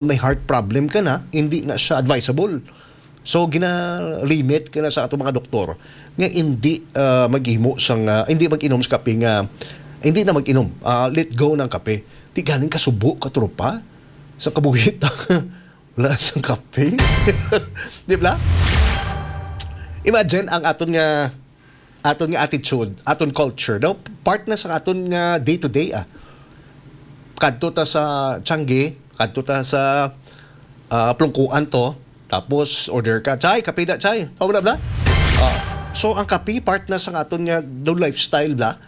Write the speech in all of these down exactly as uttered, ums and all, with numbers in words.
may heart problem ka na, hindi na siya advisable. So, gina-limit ka na sa atong mga doktor nga hindi, ah, maghimo sang, ah, hindi mag-inom sa kape nga, hindi na mag-inom, ah, let go ng kape. Di galing kasubo, katropa, sa kabuhi ta. Wala sang kape. Di ba? Imagine ang aton nga, aton nga attitude, aton culture. Daw, part na sa aton nga day-to-day, ah. Kadto ta sa Changi, kadto ta sa, ah, plungkuan to, tapos order ka, "Chay, kape na, chay." Oh, wala bla? Ah, so, ang kape, part na sa aton nga daw lifestyle bla.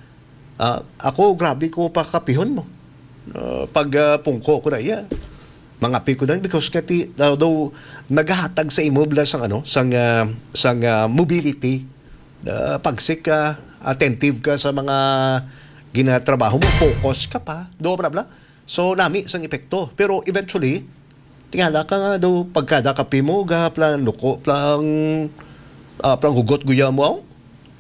Ah, ako, grabe ko pakapihon mo. Ah, pag, ah, pungko ko na iya, mangapi ko na because kati, ah, daw nagahatag sa imo bla sang ano, sang, ah, sang, ah, mobility. Ah, pagsik ka, attentive ka sa mga ginatrabaho mo, focus ka pa. Do bla bla. So, nami sang epekto. Pero eventually, tingala ka nga daw pagkada kape mo, ga plan luko, plan, ah, plan hugot guya mo,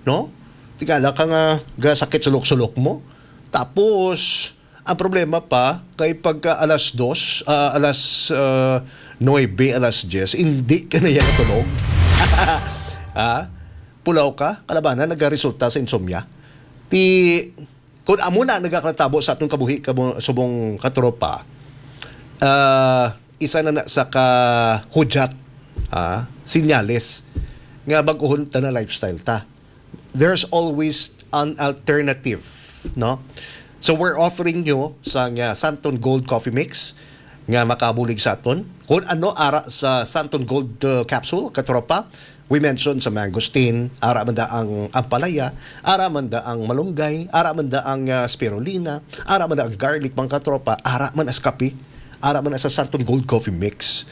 no? Tingala ka nga ga sakit sulok-sulok mo. Tapos, ang problema pa, kay pagka alas dos, ah, alas, ah, nuebe, alas diyes, hindi ka na yan natulog. Ah, pulaw ka, kalabanan, nagaresulta sa insomnia. Ti, kung amo na nagakatabo sa atong kabuhi, kamo, subong katropa, ah, isa na na sa kahudyat, ah, sinyales nga bag-ohon ta na lifestyle ta. There's always an alternative, no? So, we're offering you sa nga Santon Gold Coffee Mix nga makabulig sa aton. Kung ano ara sa Santon Gold, uh, capsule, katropa, we mentioned sa mangosteen, ara man da ang ampalaya, ara man da ang malunggay, ara man da ang, ah, spirulina, ara man da ang garlic, mga katropa, ara man as kape, ara man as sa Santon Gold Coffee Mix.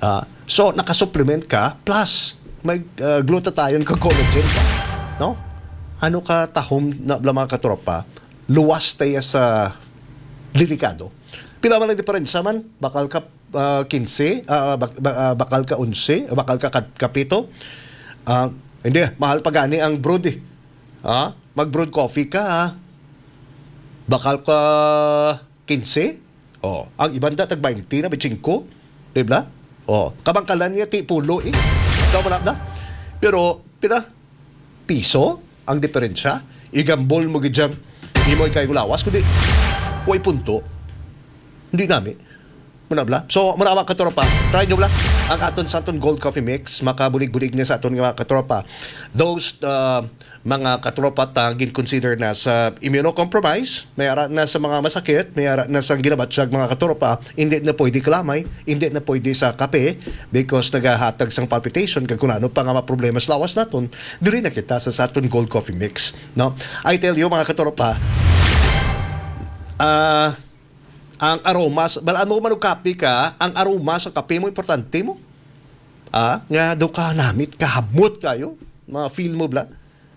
Ah, so, nakasupplement ka, plus may, ah, glutathione ka, collagen ka, no? Ano ka tahom na bla, mga katropa? Luwas tayo sa delikado. Pila man ang diferensya man? Bakal ka, ah, kinse, ah, bak-, ba-, ah, bakal ka onse, bakal ka kat-, kapito. Ah, hindi, mahal pa gani ang brewed eh. Ha? Mag-brewed coffee ka, ha? Bakal ka kinse? Oh, ang iban da tag baynte na, baynte singko, di ba? Oh, kabangkalan niya ti pulo eh. Ikaw wala na. Pero, pila? Piso ang diferensya? Igambol mo gid dyan. Imo ikay gulawas, kundi way punto. Hindi nami. Muna bla. So, muna mga katropa, try nyo bla ang aton Santon Gold Coffee Mix. Makabulig-bulig niya sa aton nga mga katropa. Those, uh, mga katropa ta gin-consider na sa immunocompromise, may ara na sa mga masakit, may ara na sa ginabatyag mga katropa, hindi na pwede kalamay, hindi na pwede sa kape because nagahatag sang palpitation kag kung ano pa nga mga problema sa lawas naton, diri na kita sa Santon Gold Coffee Mix, no? I tell you mga katropa, ah, ang aromas, balaan mo manugkape ka, ang aroma sa kape mo importante mo. Ah, nga do ka namit, kahamot kayo, mga feel mo bla.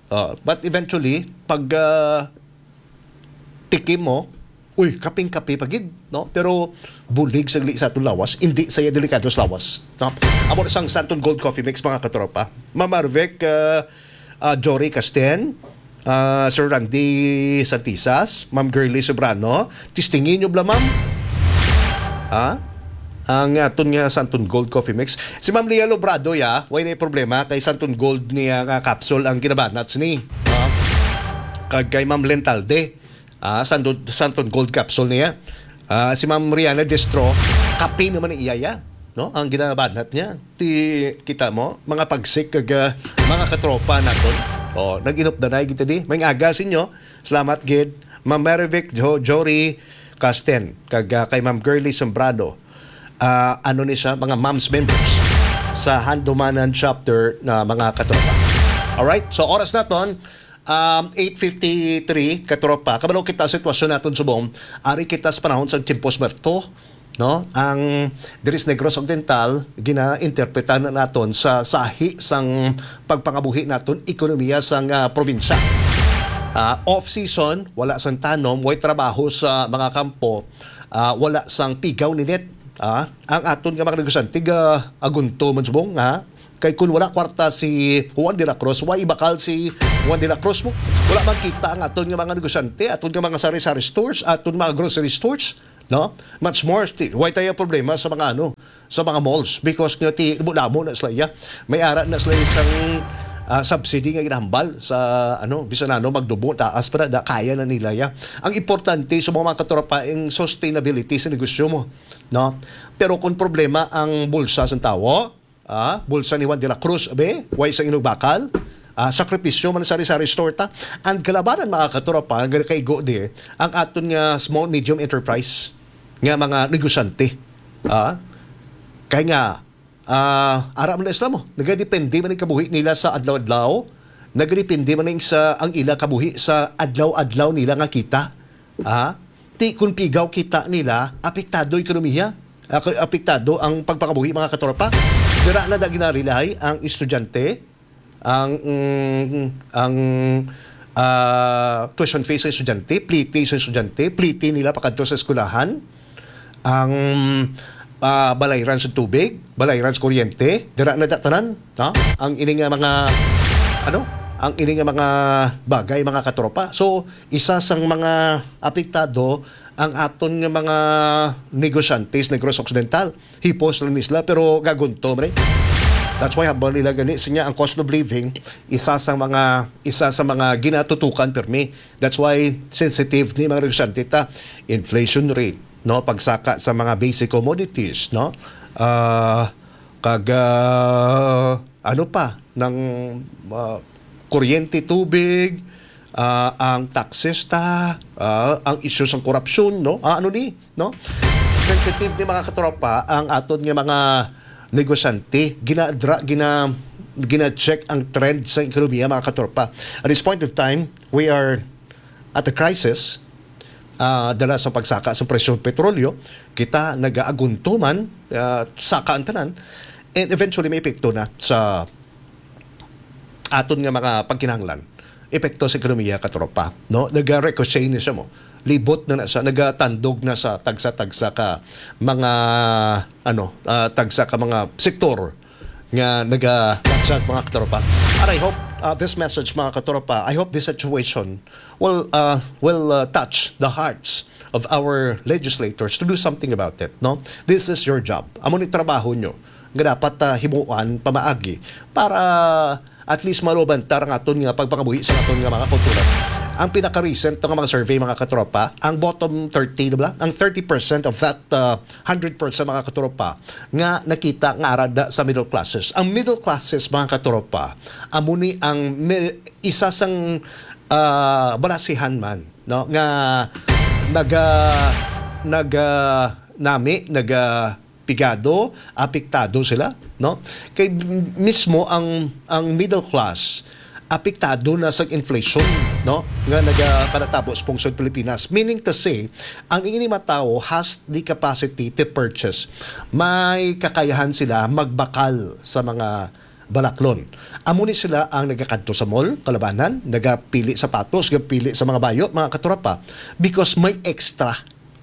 Ah, but eventually, pag, ah, tikim mo, uy, kaping-kape pa gid, no? Pero bulig sagli sa atong lawas, hindi saya delikado sa lawas, no? Amo na sang Santon Gold Coffee Mix, mga katropa. Ma'am Marvec, ah, ah, Jory Casten, ah, Sir Randy Santisas, Ma'am Girly Sobrano, testingin nyo bla, ma'am? Ha? Ang aton nga Santon Gold Coffee Mix. Si Ma'am Lia Lobrado, ya, way na problema kay Santon Gold niya nga capsule ang ginabanat ni. Ha? Kag kay Ma'am Lentalde, ah, Santon, Santon Gold capsule niya. Ah, si Ma'am Rihanna Destro, kape naman ni iya, ya, no? Ang ginabanat niya. Ti, kita mo, mga pagsik kag, ah, mga katropa naton. Oh, nag-inupdanay kita di. May aga sa inyo. Salamat gid. Ma'am Marivic Jo-, Jory Casten, kag, ah, kay Ma'am Girly Sombrado. Ah, ano ni siya, mga moms members sa Handumanan chapter na mga katropa. Alright, so oras naton, um, eight fifty-three, katropa. Kabalo kita sa sitwasyon naton subong. Ari kita sa panahon sa tiempos muerto, no? Ang diri sa Negros Occidental, ginainterpretan na naton sa sahi sang pagpangabuhi naton, ekonomiya sang, ah, probinsya. Ah, off-season, wala sang tanom, way trabaho sa mga kampo, ah, wala sang pigaw ni net. Ah, ang aton nga mga negosyante, ga-, agunto man subong, ha? Kay kun wala kwarta si Juan de la Cruz, way ibakal si Juan de la Cruz mo. Wala man kita ang aton nga mga negosyante, aton nga mga sari-sari stores, aton mga grocery stores. No? Much more, ti-, why tayo problema sa mga ano, sa mga malls? Because nga ti, damo na sila, ya. May ara na sila isang, ah, subsidy nga ginahambal sa, ano, bisan ano, magdubo, taas pa na, da, kaya na nila, ya. Ang importante sa mga, mga katropa, ang sustainability sa negosyo mo, no? Pero kung problema ang bulsa sa tawo, ah, bulsa ni Juan de la Cruz, abe, way sa inugbakal, ah, sakripisyo man sa sari-sari store ta. Ang kalabanan, mga katropa, nga kaigo di, ang aton nga small, medium enterprise, nga mga negosyante. Ah, kay nga, ah, ara man na sila mo, nagadepende man ang kabuhi nila sa adlaw-adlaw, nagadepende man ang sa, ang ila kabuhi sa adlaw-adlaw nila nga kita. Ah, ti kun pigaw kita nila, apektado ekonomiya. Ah, kay apektado ang pagpangabuhi, mga katropa. Dira na da ginarelay ang estudyante, ang, mm, ang, ah, tuition fee sa estudyante, pliti sa estudyante, pliti nila pakadto sa eskwelahan, ang, ah, balayran sa tubig, balayran sa kuryente, dira na da tanan, no? Ang ini nga mga, ano, ang ini nga mga bagay, mga katropa. So, isa sang mga apektado ang aton nga mga negosyante sa Negros Occidental. Hipos lang ni sila, pero gagunto man eh. That's why hambal nila gani, sinya ang cost of living, isa sa mga, isa sa mga ginatutukan permi. That's why sensitive ni mga negosyante ta. Inflation rate, no? Pagsaka sa mga basic commodities, no? Ah, kag, ah, ano pa, ng, ah, kuryente, tubig, ah, ang taxes ta, ah, ang isyu sang korupsyon, no? Ah, ano ni, no? Sensitive ni, mga katropa, ang aton nga mga negosyante, ginadra, gina, gina-check ang trend sa ekonomiya, mga katropa. At this point of time, we are at a crisis, ah, dala sa pagsaka sa presyo ng petrolyo, kita nagaaguntuman, ah, saka ang tanan, and eventually may epekto na sa aton nga mga pagkinahanglan. Epekto sa ekonomiya, katropa, no? Naga-ricochet na siya mo. Libot na na siya, nagatandog na sa tagsa-tagsa ka mga, ano, ah, tagsa ka mga sektor nga naga-, mga katropa. And I hope, uh, this message, mga katropa, I hope this situation will, uh, will, uh, touch the hearts of our legislators to do something about it, no? This is your job. Amo ni trabaho nyo nga dapat, uh, himuan pamaagi para at least maluban ta ang aton nga pagpangabuhi sa aton nga mga kultura. Ang pinaka-recent nga mga survey, mga katropa, ang bottom thirty, di ba? Ang thirty percent of that, uh, hundred percent, mga katropa, nga nakita nga ara da sa middle classes. Ang middle classes, mga katropa, amo ni ang mi-, isa sang, ah, balasihan man, no, nga naga-, naga-, nami, naga-, pigado, apektado sila, no? Kay mismo ang, ang middle class, apektado na sa inflation, no? Nga nagapanatabo sa pungsod Pilipinas. Meaning to say, ang ini mga tawo has the capacity to purchase. May kakayahan sila magbakal sa mga balaklon. Amo ni sila ang nagakadto sa mall, kalabanan, nagapili sapatos, nagapili sa mga bayo, mga katropa, because may extra,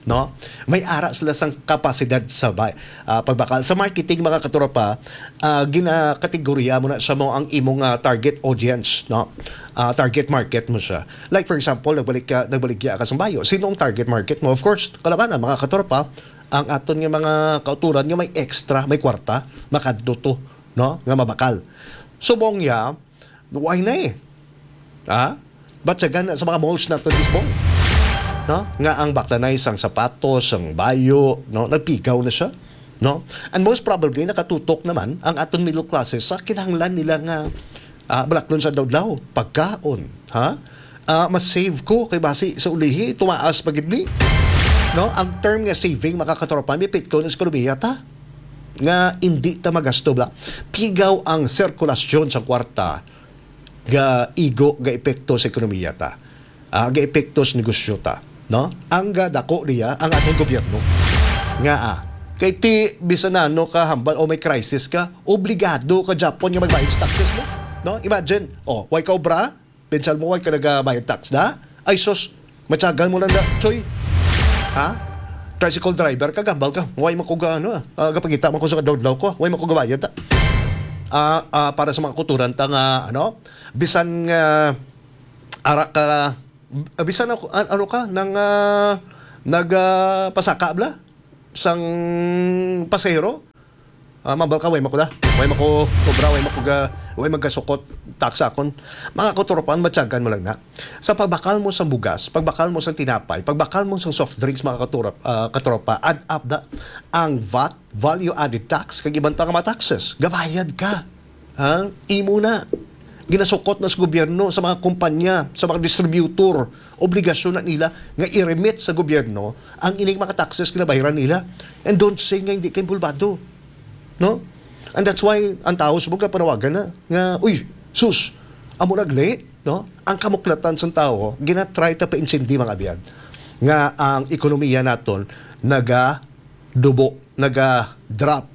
no? May ara sila sang kapasidad sa bay-, ah, pagbakal. Sa marketing, mga katropa, ah, ginakategorya mo na siya mo ang imong, ah, target audience, no? Ah, target market mo siya. Like, for example, nagbalik ka, nagbaligya ka sa bayo. Sino ang target market mo? Of course, kalabanan, mga katropa, ang aton nga mga kauturan nga may extra, may kwarta, makadto to, no? Nga mabakal. Subong niya, why na eh? Ha? Ba't sa gana sa mga malls na to, Lisbon? No? Nga ang baklanay sang sapatos, sang bayo, no? Nagpigaw na siya, no? And most probably, nakatutok naman ang aton middle classes sa kinahanglan nila nga, ah, balaklon sa adlaw-adlaw. Pagkaon, ha? Ah, mas save ko kay basi sa ulihi, tumaas pa gid ni. No? Ang term nga saving, mga katropa, may epekto na sa ekonomiya ta. Nga hindi ta magasto bala. Pigaw ang sirkulasyon sa kwarta ga igo, ga epekto sa ekonomiya ta. Ah, ga epekto sa negosyo ta, no? Ang gadako niya ang atong gobyerno. Nga, ah, kay ti bisan ano ka hambal o may crisis ka, obligado ka gyapon nga magbayad sa taxes mo, no? Imagine, oh, way ka obra, pinsal mo, way ka nagabayad tax da? Ay sus, matyagan mo lang da, Choy. Ha? Tricycle driver ka, gambal ka. Way man ko ga, ano, ah, ah, gapangita man ko sa kadlawdlaw ko. Way man ko gabayad, ah. Ah, ah, para sa mga kuturan ta nga, ano, bisan nga ara ka, ah, bisan ako, an-, ano ka, nang, ah, nagapasaka bala sang pasahero. Ah, mambal ka, way mako da. Way mako obra, way mako ga, way magasukot tax sa akon. Mga katropa, matyagan mo lang na. Sa pagbakal mo sang bugas, pagbakal mo sang tinapay, pagbakal mo sang soft drinks, mga katurap-, ah, katropa, add up da ang vat, value added tax, kag iban pa nga mga taxes. Gabayad ka. Ha? Imo na. Ginasukot na sa gobyerno, sa mga kumpanya, sa mga distributor. Obligasyon na nila nga i-remit sa gobyerno ang ining mga taxes nga nabayaran nila. And don't say nga hindi ka involvado. No? And that's why ang tao subong ka panawagan na nga, "Uy, sus, amo nag late," no? Ang kamuklatan sang tao, gina-try ta paintindi, mga abyan, nga ang ekonomiya naton naga dubo, naga-drop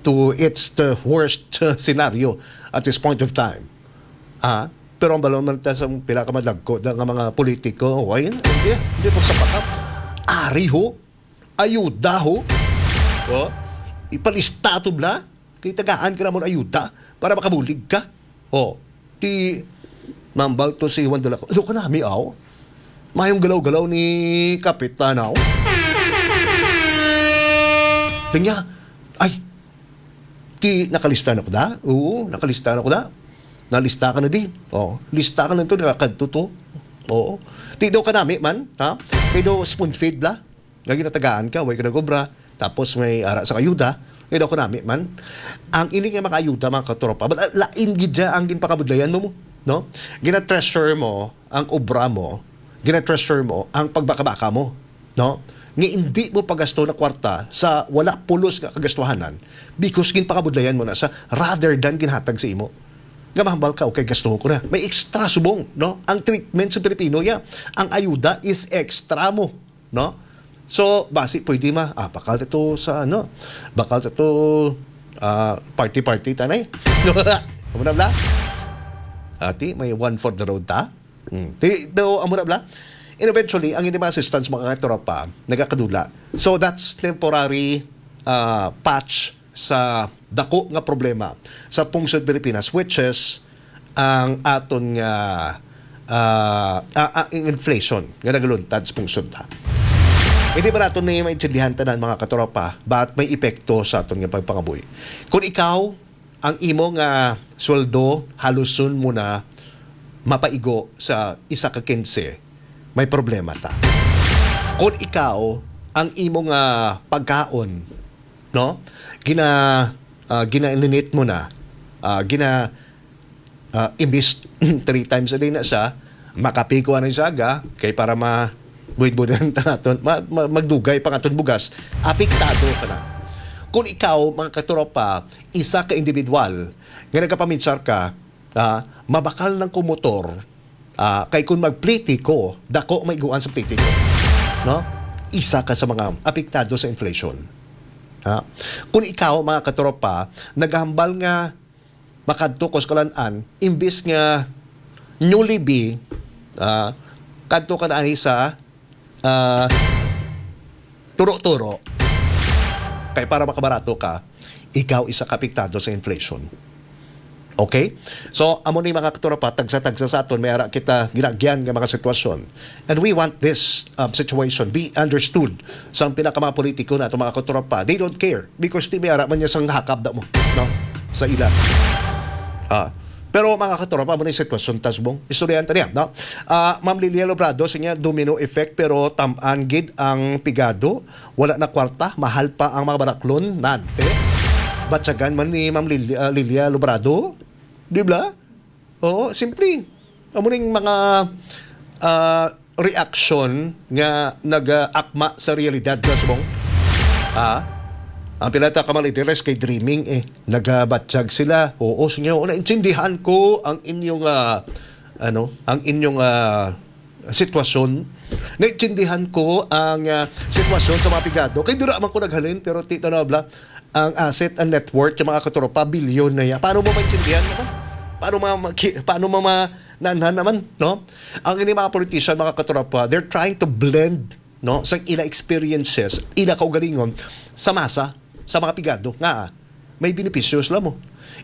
to its the worst, uh, scenario at this point of time. Ah, pero ang balon man ta sa pila ka madagko da nga mga politiko, why na? Hindi, hindi po sa pakat. Ari ho, ayuda ho. Oh, ipalista to bla. Kay tagaan ka namon ayuda para makabulig ka. Oh, ti mambal to si Juan de la Cruz. Ano ka nami, aw? Mayong galaw-galaw ni Kapitan, aw? Kanya, ay, ti nakalista na ko da? Oo, nakalista na ko da. Nalista ka na di. Oh, lista ka na to, nakakadto to. Oo. Ti daw ka nami man, ha? Ti daw spoon feed la. Nga ginatagaan ka, way ka nag-obra, tapos may ara sa ayuda, kay daw ko nami man. Ang ini nga mga ayuda, mga katropa, but, ah, lain gid siya ang ginpakabudlayan mo, mo, no? Gina-treasure mo ang obra mo, gina-treasure mo ang pagbakabaka mo, no? Nga hindi mo pagasto na kwarta sa wala pulos nga kagastuhanan because ginpakabudlayan mo na sa rather than ginhatag sa imo. Nga mahambal ka, "Okay, gastuhon ko na." May extra subong, no? Ang treatment sa Pilipino, ya, ang ayuda is extra mo, no? So, basi pwede ma, ah, bakal ta to sa, ano, bakal ta to, ah, party-party tanay. Amo na bala? Ati, may one for the road ta? Hmm. Ti, do, amo na bala? And eventually, ang hindi mga assistance, mga katropa, nagakadula. So, that's temporary, ah, patch sa dako nga problema sa pungsod Pilipinas, which is ang aton nga, ah, ah, ah, ang inflation nga nagaluntad sa pungsod ta. Hindi ba nato ni maintindihan tanan, mga katropa, but may epekto sa aton nga pagpangabuhi? Kung ikaw, ang imo nga sweldo, haluson mo na mapaigo sa isa ka kinse, may problema ta. Kung ikaw, ang imo nga pagkaon, no? Gina, ah, ginaninit mo na, ah, gina, ah, imbis three times a day na siya, makape ko anay siya, ga, kay para ma-, buhid-buhidan ta naton, ma-, ma-, magdugay pa nga aton bugas, apektado ka na. Kung ikaw, mga katropa, isa ka individual nga nagapaminsar ka, ah, mabakal lang ko motor, ah, kay kung magpliti ko, dako maiguan sa pliti ko. No? Isa ka sa mga apektado sa inflation. Ha? Kung ikaw, mga katropa, naghambal nga makadto ko sa kalan-an, imbis nga Jollibee, ah, kadto ka na sa, ah, turo-turo. Kay para makabarato ka, ikaw isa ka apektado sa inflation. Okay? So, amo ni, mga katropa, tagsa-tagsa sa aton, may ara kita ginagyan nga mga sitwasyon. And we want this, um, situation be understood sa pila ka mga politiko na ato, mga katropa. They don't care because ti may ara man niya sang hakap da mo, no? Sa ila. Ah. Pero, mga katropa, amo ni sitwasyon ta subong. Istoryahan ta niya, no? Ah, Ma'am Lilia Lobrado, siya domino effect, pero tam-an gid ang pigado. Wala na kwarta, mahal pa ang mga baraklon, nante. Batyagan man ni Ma'am Lil-, ah, Lilia Lobrado. Di ba? Oo, simple. Amo ning mga, ah, reaksyon nga nag-akma sa realidad, Boss Bong. Ah, ang pila ta ka mga leaders kay dreaming eh. Nagabatyag sila. Oo, sinyo, naintindihan ko ang inyong, ah, ano, ang inyong, ah, sitwasyon. Naintindihan ko ang, ah, sitwasyon sa mga pigado. Kay dura man ko naghalin, pero ti, tanaw bala, ang asset and net worth sa mga katropa, bilyon na yan. Paano mo maintindihan naman? Paano ma-, maki-, paano mo ma-, naanhan naman, no? Ang ini mga politician, mga katropa, they're trying to blend, no, sa ila experiences, ila kaugalingon sa masa, sa mga pigado nga may benepisyo sila mo.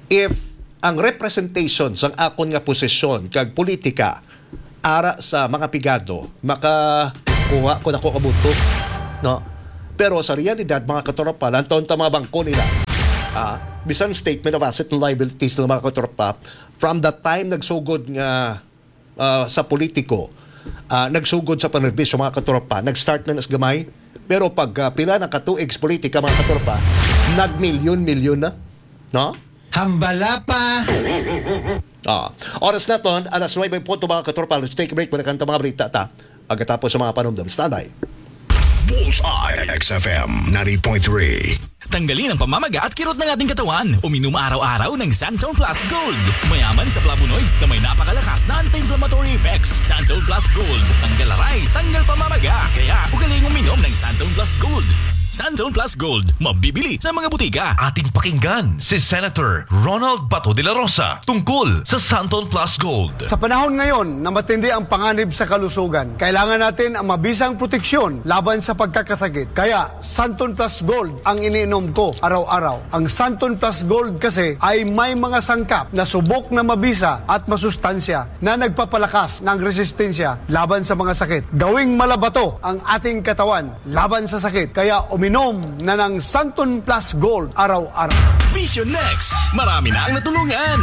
If ang representation sang akon nga posisyon kag politika ara sa mga pigado maka kuha ko nako kabuto, no? Pero sa realidad, mga katropa, lantaw ta mga bangko nila, ah, bisan statement of asset and liabilities nila, mga katropa, from the time nagsugod nga, ah, sa politiko, ah, nagsugod sa panserbisyo, mga katropa, nag-start na nas gamay, pero pag, ah, pila na ka tuig sa politika, mga katropa, nagmilyon-milyon na, no? Hambala pa. Ah, oras naton, alas nuebe punto, mga katropa. Let's take a break. Balikan ta mga balita ta pagkatapos sa mga panumdom. Standby. Bullseye, X F M ninety point three. Tanggalin ang pamamaga at kirot ng ating katawan. Uminom araw-araw ng Santon Plus Gold. Mayaman sa flavonoids na may napakalakas na anti-inflammatory effects. Santon Plus Gold. Tanggal aray, tanggal pamamaga. Kaya, ugaling uminom ng Santon Plus Gold. Santon Plus Gold. Mabibili sa mga butika. Ating pakinggan si Senator Ronald Bato de la Rosa tungkol sa Santon Plus Gold. Sa panahon ngayon na matindi ang panganib sa kalusugan, kailangan natin ang mabisang proteksyon laban sa pagkakasakit. Kaya, Santon Plus Gold ang iniinom ko araw-araw. Ang Santon Plus Gold kasi ay may mga sangkap na subok na mabisa at masustansya na nagpapalakas ng resistensya laban sa mga sakit. Gawing malabato ang ating katawan laban sa sakit. Kaya uminom na ng Santon Plus Gold araw-araw. Vision Next, marami na ang natulungan.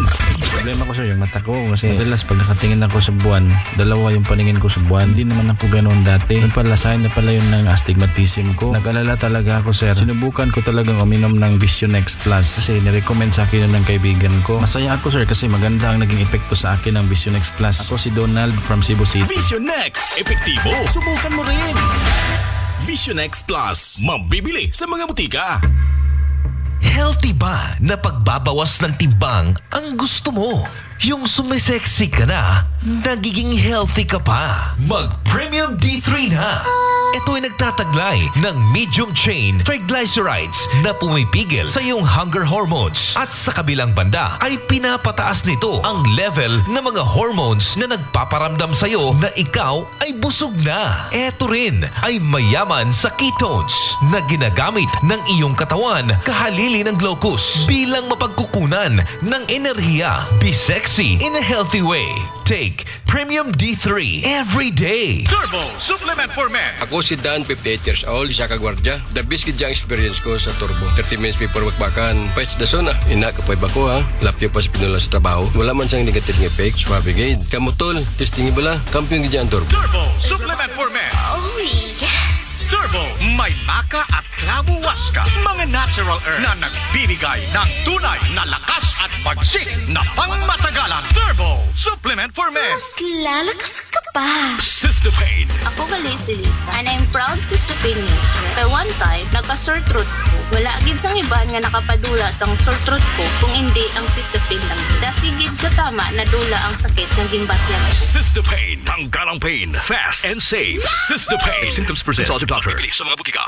Problema ko, sir, yung mata ko. Kasi madalas pag nakatingin ako sa buwan, dalawa yung paningin ko sa buwan. Hindi naman ako ganoon dati. Yung pala, sign na pala yun ng astigmatism ko. Nag-alala talaga ako, sir. Sinubukan ko talagang uminom ng Vision X Plus kasi nirecommend sa akin yun ng kaibigan ko. Masaya ako, sir, kasi maganda ang naging epekto sa akin ng Vision X Plus. Ako si Donald from Cebu City. Vision X, epektibo. Subukan mo rin. Vision X Plus, mabibili sa mga butika. Healthy ba na pagbabawas ng timbang ang gusto mo? Yung sumisexy ka na, nagiging healthy ka pa. Mag Premium D three na. Ito ay nagtataglay ng medium chain triglycerides na pumipigil sa iyong hunger hormones at sa kabilang banda ay pinapataas nito ang level ng mga hormones na nagpaparamdam sa iyo na ikaw ay busog na. Ito rin ay mayaman sa ketones na ginagamit ng iyong katawan kahalili ng glucose bilang mapagkukunan ng enerhiya. Be sexy in a healthy way. Take Premium D three every day. Turbo Supplement for Men. Ako si Dan, fifty-eight years old, isa ka gwardiya. The best gid ang experience ko sa Turbo. Thirty minutes before bakbakan, pets the zone ah. Ina, kapoy ba ko ha? Lapyo pa sa pinula sa trabaho. Wala man sang negative nga effect. Suabe gid. Kamo tol, testing bala. Kampiyon gid ang Turbo. Turbo Supplement for Men. Oh, yes. Turbo, may maca at clavo huasca. Mga natural herbs na nagbibigay ng tunay na lakas at bagsik na pangmatagalan. Turbo Supplement for Men. Mas lalakas ka pa. Sister Pain. Ako gali si Lisa, and I'm proud Sister Pain user. Kay one time, nagka-sore throat ko. Wala gid sang iban nga nakapadula sang sore throat ko kung indi ang Sister Pain lang. Dasi gid katama nadula ang sakit nga ginbatyan ko. Sister Pain. Tanggal ang pain. Fast and safe. Sister Pain. If symptoms persist, consult your doctor. Bibili sa mga butika.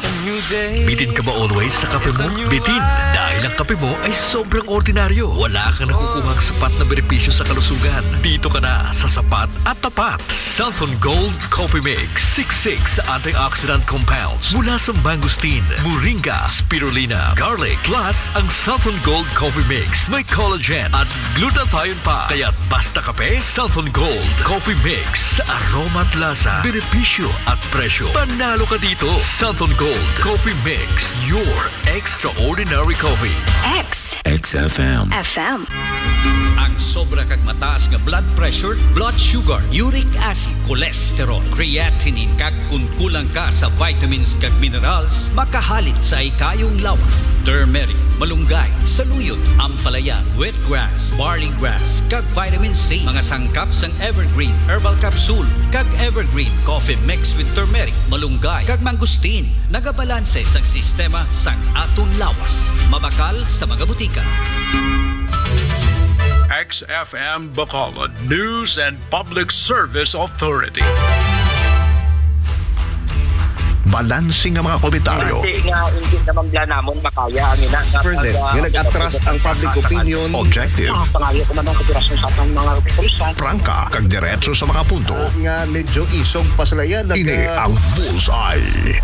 Bitin ka ba always sa kape mo? Bitin. Dahil ang kape mo ay sobrang ordinaryo. Wala kang nakukuhang sapat na benepisyo sa kalusugan. Dito ka na sa sapat at tapat. Santhon Gold Coffee Mix. Six six antioxidant compounds mula sa mangosteen, moringa, spirulina, garlic. Plus, ang Santhon Gold Coffee Mix may collagen at glutathione pa. Kaya basta kape, Santhon Gold Coffee Mix. Sa aroma at lasa, benepisyo at presyo, panalo ka dito. Santhon Gold Coffee Mix, your extraordinary coffee. X X F M. F M. Ang sobra kag mataas nga blood pressure, blood sugar, uric acid, cholesterol, creatinine, kag kun kulang ka sa vitamins kag minerals, makahalit sa ikayong lawas. Turmeric, malunggay, saluyot, ampalaya, wheatgrass, barley grass, kag vitamin C. Mga sangkap sang Evergreen Herbal Capsule kag Evergreen Coffee mixed with turmeric, malunggay, kag mangosteen nagabalanse sang sistema sang aton lawas. Mabakal sa mga butika. X F M Bacolod News and Public Service Authority. Balanse nga mga komentaryo. Base nga hindi naman bala namon makaya ang ina nga Further, pag, ah, nga nag-atras ang public opinion. Objective. Ah, pangayo ko man ang kooperasyon sa atong mga opisyal. Prangka, kag diretso sa mga punto. Ah, nga medyo isog pa sila yan. Ini ang Bullseye.